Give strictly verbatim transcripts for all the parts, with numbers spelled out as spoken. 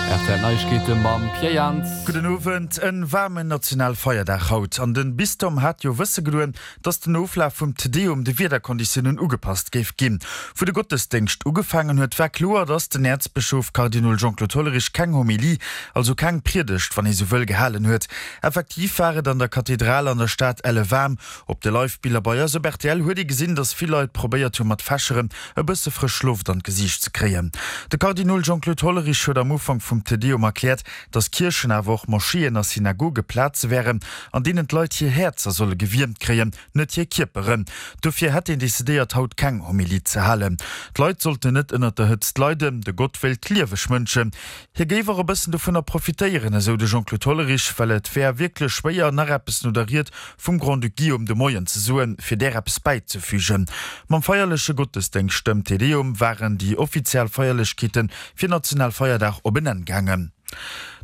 R T L Neiegkeete mam Pierre Jans. Gudden Owend. En waarmen Nationalfeierdag haut an den Bistum hat jo wësse gedoen, dass den Oflaf vum Te Deum de Wiederkonditiounen ugepasst géif ginn. Wou de Gottesdéngscht ugefaangen huet, war kloer, dass den Äerzbëschof Kardinol Jean-Claude Hollerich keng Homilie, also keng Priedegt, wann ee sou wëll, gehalen huet. Effektiv war et an der Kathedral an der Stad elle waarm. Op de Live-Biller bei eis op R T L huet ee gesinn, dass vill Leit probéiert hu mat Fächeren e bësse frësch Loft an d'Gesiicht ze kréien. De Kardinol Jean-Claude Hollerich huet am Ufank vum Te Deum erkläert, dass Kierchen, awer och Moscheeën a Synagoge Plaze wären, an deenen d'Leit hir Häerzer solle gewiermt kréien, net hir Kierperen. Dofir hätt een decidéiert, haut keng Homilie ze halen. D'Leit sollten net ënnert der Hëtzt leiden, de Gott wéilt lieweg Mënschen. Hie géif och e bëssen dovunner profitéieren, esou de Jean-Claude Hollerich, well et wär wierklech schwéier, nach eppes no der Ried vum Grand-Duc Guillaume de Moien ze soen, fir där eppes bäizefügen. Mam feierleche Gottesdéngscht, dem Te Deum, waren déi offiziell Feierlechkeete fir Nationalfeierdag op en Enn gaangen.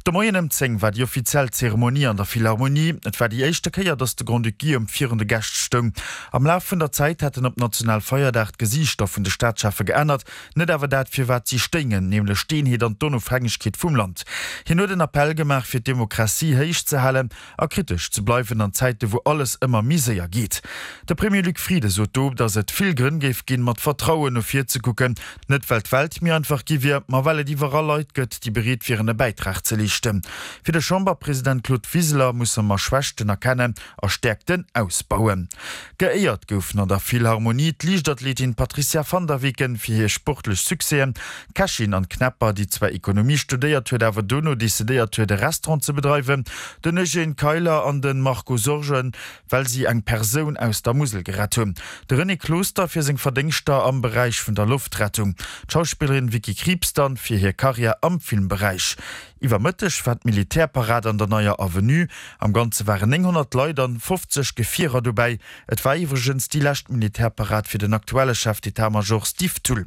De Moien ëm zéng war déi offiziell Zeremonie an der Philharmonie. Et war déi éischte Kéier, datt de Grand-Duc Guillaume virun de Gäscht stoung. Am Laf vun der Zäit hätten op Nationalfeierdag d'Gesiichter vun de Staatscheffe geännert, net awer dat, fir wat si stéingen, nämlech d'Eenheet an d'Onofhängegkeet vum Land. Hien huet en Appell gemaach, fir d'Demokratie héich ze halen a kritesch ze bleiwen an Zäite wou alles ëmmer méi séier geet. De Premier Luc Frieden sot do, datt et vill Grënn géif ginn, mat Vertrauen no vir ze kucken, net well d'Welt méi einfach gi wier, ma well et iwwerall Leit gëtt, déi bereet wieren e Bäitrag ze leeschten. Fir de Chamberpresident Claude Wiseler musse mer Schwächten erkennen a Stäerkten ausbauen. Geéiert goufen an der Philharmonie d'Liichtathletin Patricia van der Weken fir hir sportlech Succèsen, d'Kächin Anne Knepper, déi zwar Ekonomie studéiert huet, awer dono decidéiert huet e Restaurant ze bedreiwen, den Eugène Keiler an de Marco Sorgen, well si eng Persoun aus der Musel gerett hunn, de René Closter fir seng Verdéngschter am Beräich vun der Loftrettung, d'Schauspillerin Vicky Krieps dann fir hir Karriär am Filmberäich. Iwwer Mëtteg war d'Militärparad an der Neier Avenue. Am Ganze waren nénghonnert Leit an fofzeg Gefierer dobäi. Et war iwwregens déi lescht Militärparad fir den aktuelle Chef d'état-major Steve Thull.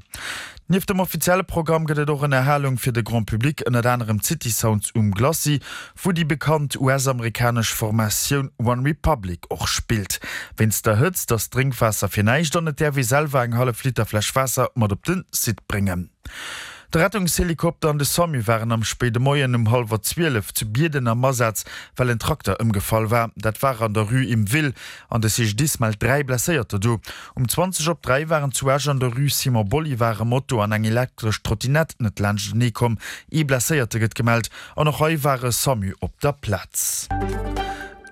Nieft dem offizielle Programm gëtt et och Ënnerhalung fir de Grand Public, ënnert anerem d'City Sounds um Glacis, wou déi bekannt U S-amerikanesch Formatioun One Republic och spillt. Wéinst der Hëtzt ass Drénkwaasser fir näischt an et däerf ee selwer eng hallef Liter Fläsch Waasser mat op de Site bréngen. De Rettungshelikopter an de SAMU waren am spéide Moien um hallwer zwielef zu Bierden am Asaz, well en Trakter ëmgefall war. Dat war an der Rue Im Will an de C G D I S mellt dräi Blesséierter do. Um zwanzeg op dräi waren zu Esch an der Rue Simon Bolivar e Moto an eng elektresch Trottinett net laanschtenee komm. Ee Blesséierte gëtt gemellt an och hei war e SAMU op der Plaz.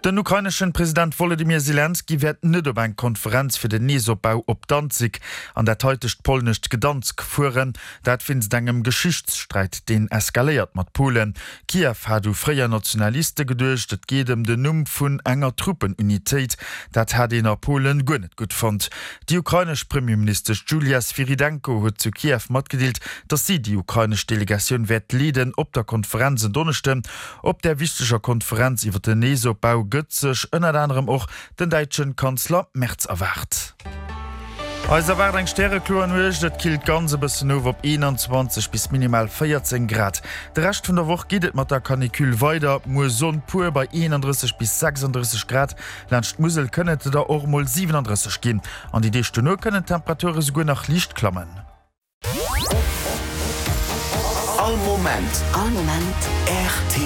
Den ukraineschen President Wolodymyr Selenskyj wäert net op eng Konferenz fir den Neesopbau op Danzig an dat haitegt polnescht Gdansk fueren, dat wéinst engem Geschichtssträit, deen eskaléiert mat Polen. Kiew hat u fréier Nationaliste geduecht, et geet ëm den Numm vun enger Truppenunitéit. Dat hat een a Polen guer net gutt fonnt. Déi ukrainesch Premierministesch Julia Swyrydenko huet zu Kiew matgedeelt, datt si déi ukrainesch Delegatioun wäert leeden op der Konferenz en Donneschden. Op där wichteger Konferenz iwwer den Neesopbau gëtt sech ënnert anerem och den däitschen Kanzler Merz erwaart. Eis erwaart eng stärekloer Nuecht, et killt ganz e bëssen of op eenanzwanzeg bis minimal véierzéng Grad. De Rescht vun der Woch geet et mat der Canicule weider, muer Sonn pur bei eenandrësseg bis sechsandrësseg Grad, laanscht d'Musel kënnen et der och mol siwenandrësseg ginn. An déi Deeg dono kënnen d'Temperature souguer nach liicht klammen. All Moment. All Moment. R T L.